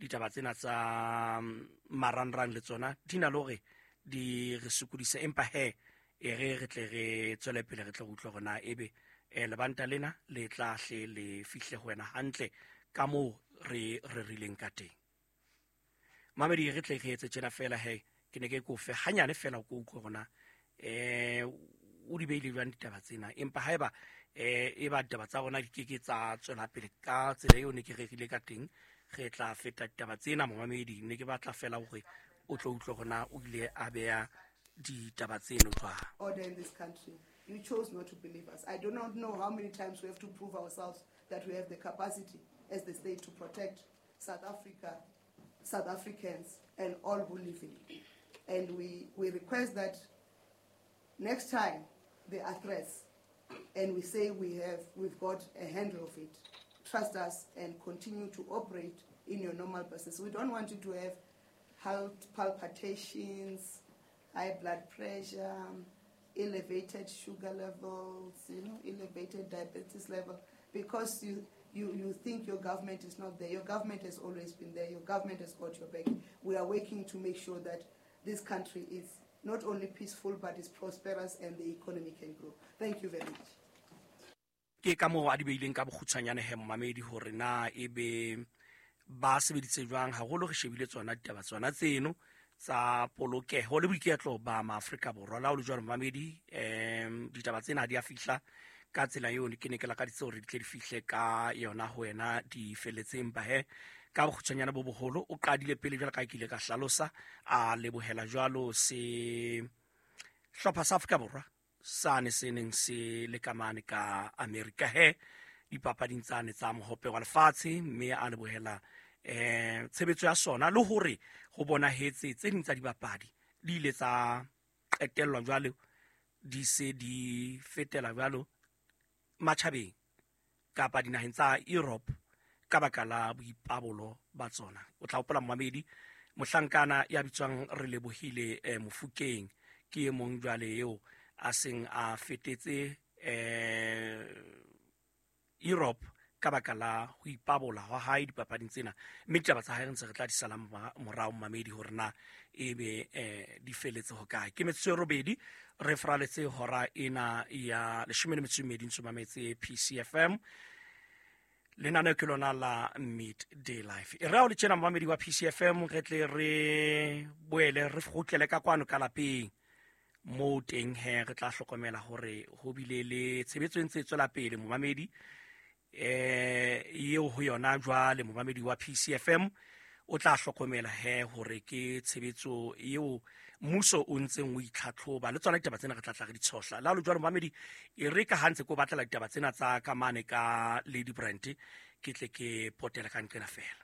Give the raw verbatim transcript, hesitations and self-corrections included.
Ditaba tsena tsa marangrang le tsona di na le hore di re sokodise, empa he e re re tle re tswele pele re tle re utlwe hore na ebe eh, lebanta lena le tla hle le fihle ho wena hantle ka moo re rerileng ka teng. Mamedi, re tle re etse tjena fela he, ke ne ke kofe hanyane fela ko utlwe hore na eh o di beile jwang ditaba tsena. Empa haeba eh e ba ditaba tsa rona di keke tsa tswela pele ka tsela eo ne ke rerile ka teng, re tla feta ditaba tsena. Momamedi, ne ke batla fela hore o tlo utlwe hore na o ile a beha ditaba tseno jwang. Order in this country. You chose not to believe us. I do not know how many times we have to prove ourselves that we have the capacity as the state to protect South Africa, South Africans, and all who live in it. And we, we request that next time there are threats and we say we have, we've got a handle of it, trust us and continue to operate in your normal business. We don't want you to have heart palpitations, high blood pressure, elevated sugar levels, you know, elevated diabetes level, because you, you, you think your government is not there. Your government has always been there. Your government has got your back. We are working to make sure that this country is not only peaceful, but is prosperous and the economy can grow. Thank you very much. Ke ka moo a di beileng ka bokgutshwanyane he, momamedi, hore na ebe ba sebeditse jwang, haholo re shebile tsona ditaba tsona tseno tsa polokeho le boiketlo ba maAfrika Borwa. La ho le jwalo, momamedi, um ditaba tsena ha di a fihla ka tsela eo ke ne ke lakaditse hore di tle di fihle ka yona ho wena di felletseng. Empa he, ka bokgutshwanyane bo boholo, o qadile pele jwalo ka ke ile ka hlalosa, a lebohela jwalo se hlopha sa Afrika Borwa sane se neng se le ka mane ka Amerika he dipapading tsane tsa mohope wa lefatshe, mme a lebohela eh tshebetso ya sona le hore ho bonahetse tse ding tsa dibapadi di ile tsa qetellwa jwalo di se di fetela jwalo matjhabeng kapa dinaheng tsa Europe ka baka la boipabolo ba tsona. O tla hopola, momamedi, mohlankana ya bitswang Re Lebohile eh, Mofokeng ke e mong jwale eo a seng a fetetse eh Europe ka baka la ho ipabola hwa hae dipapading tsena, mme ditaba tsa hae re ntse re tla di sala morao, mamedi, hore na ebe eh di feletse ho kae. Ke metsotso e robedi re fraletse hora ena ya leshome le metso e mmedi, ntse mametse P C F M, lenaneo ke lona la Midday Life. E re ha o le tjena, momamedi wa P C F M, re tle re boele re kgutlele ka kwano ka lapeng moo teng he re tla hlokomela hore ho bile le tshebetso e ntse e tswela pele, momamedi, eh eo ho yona jwale momamedi wa P C F M o tla hlokomela he hore ke tshebetso eo mmuso o ntseng o itlhatlhoba le tsona ditaba tsena re tla tla re di tshohla. Le ha le jwalo, momamedi, e re ka ha ntse ko batlela ditaba tsena tsa ka mane ka Lady Brand, ke tle ke potela ka nqena fela.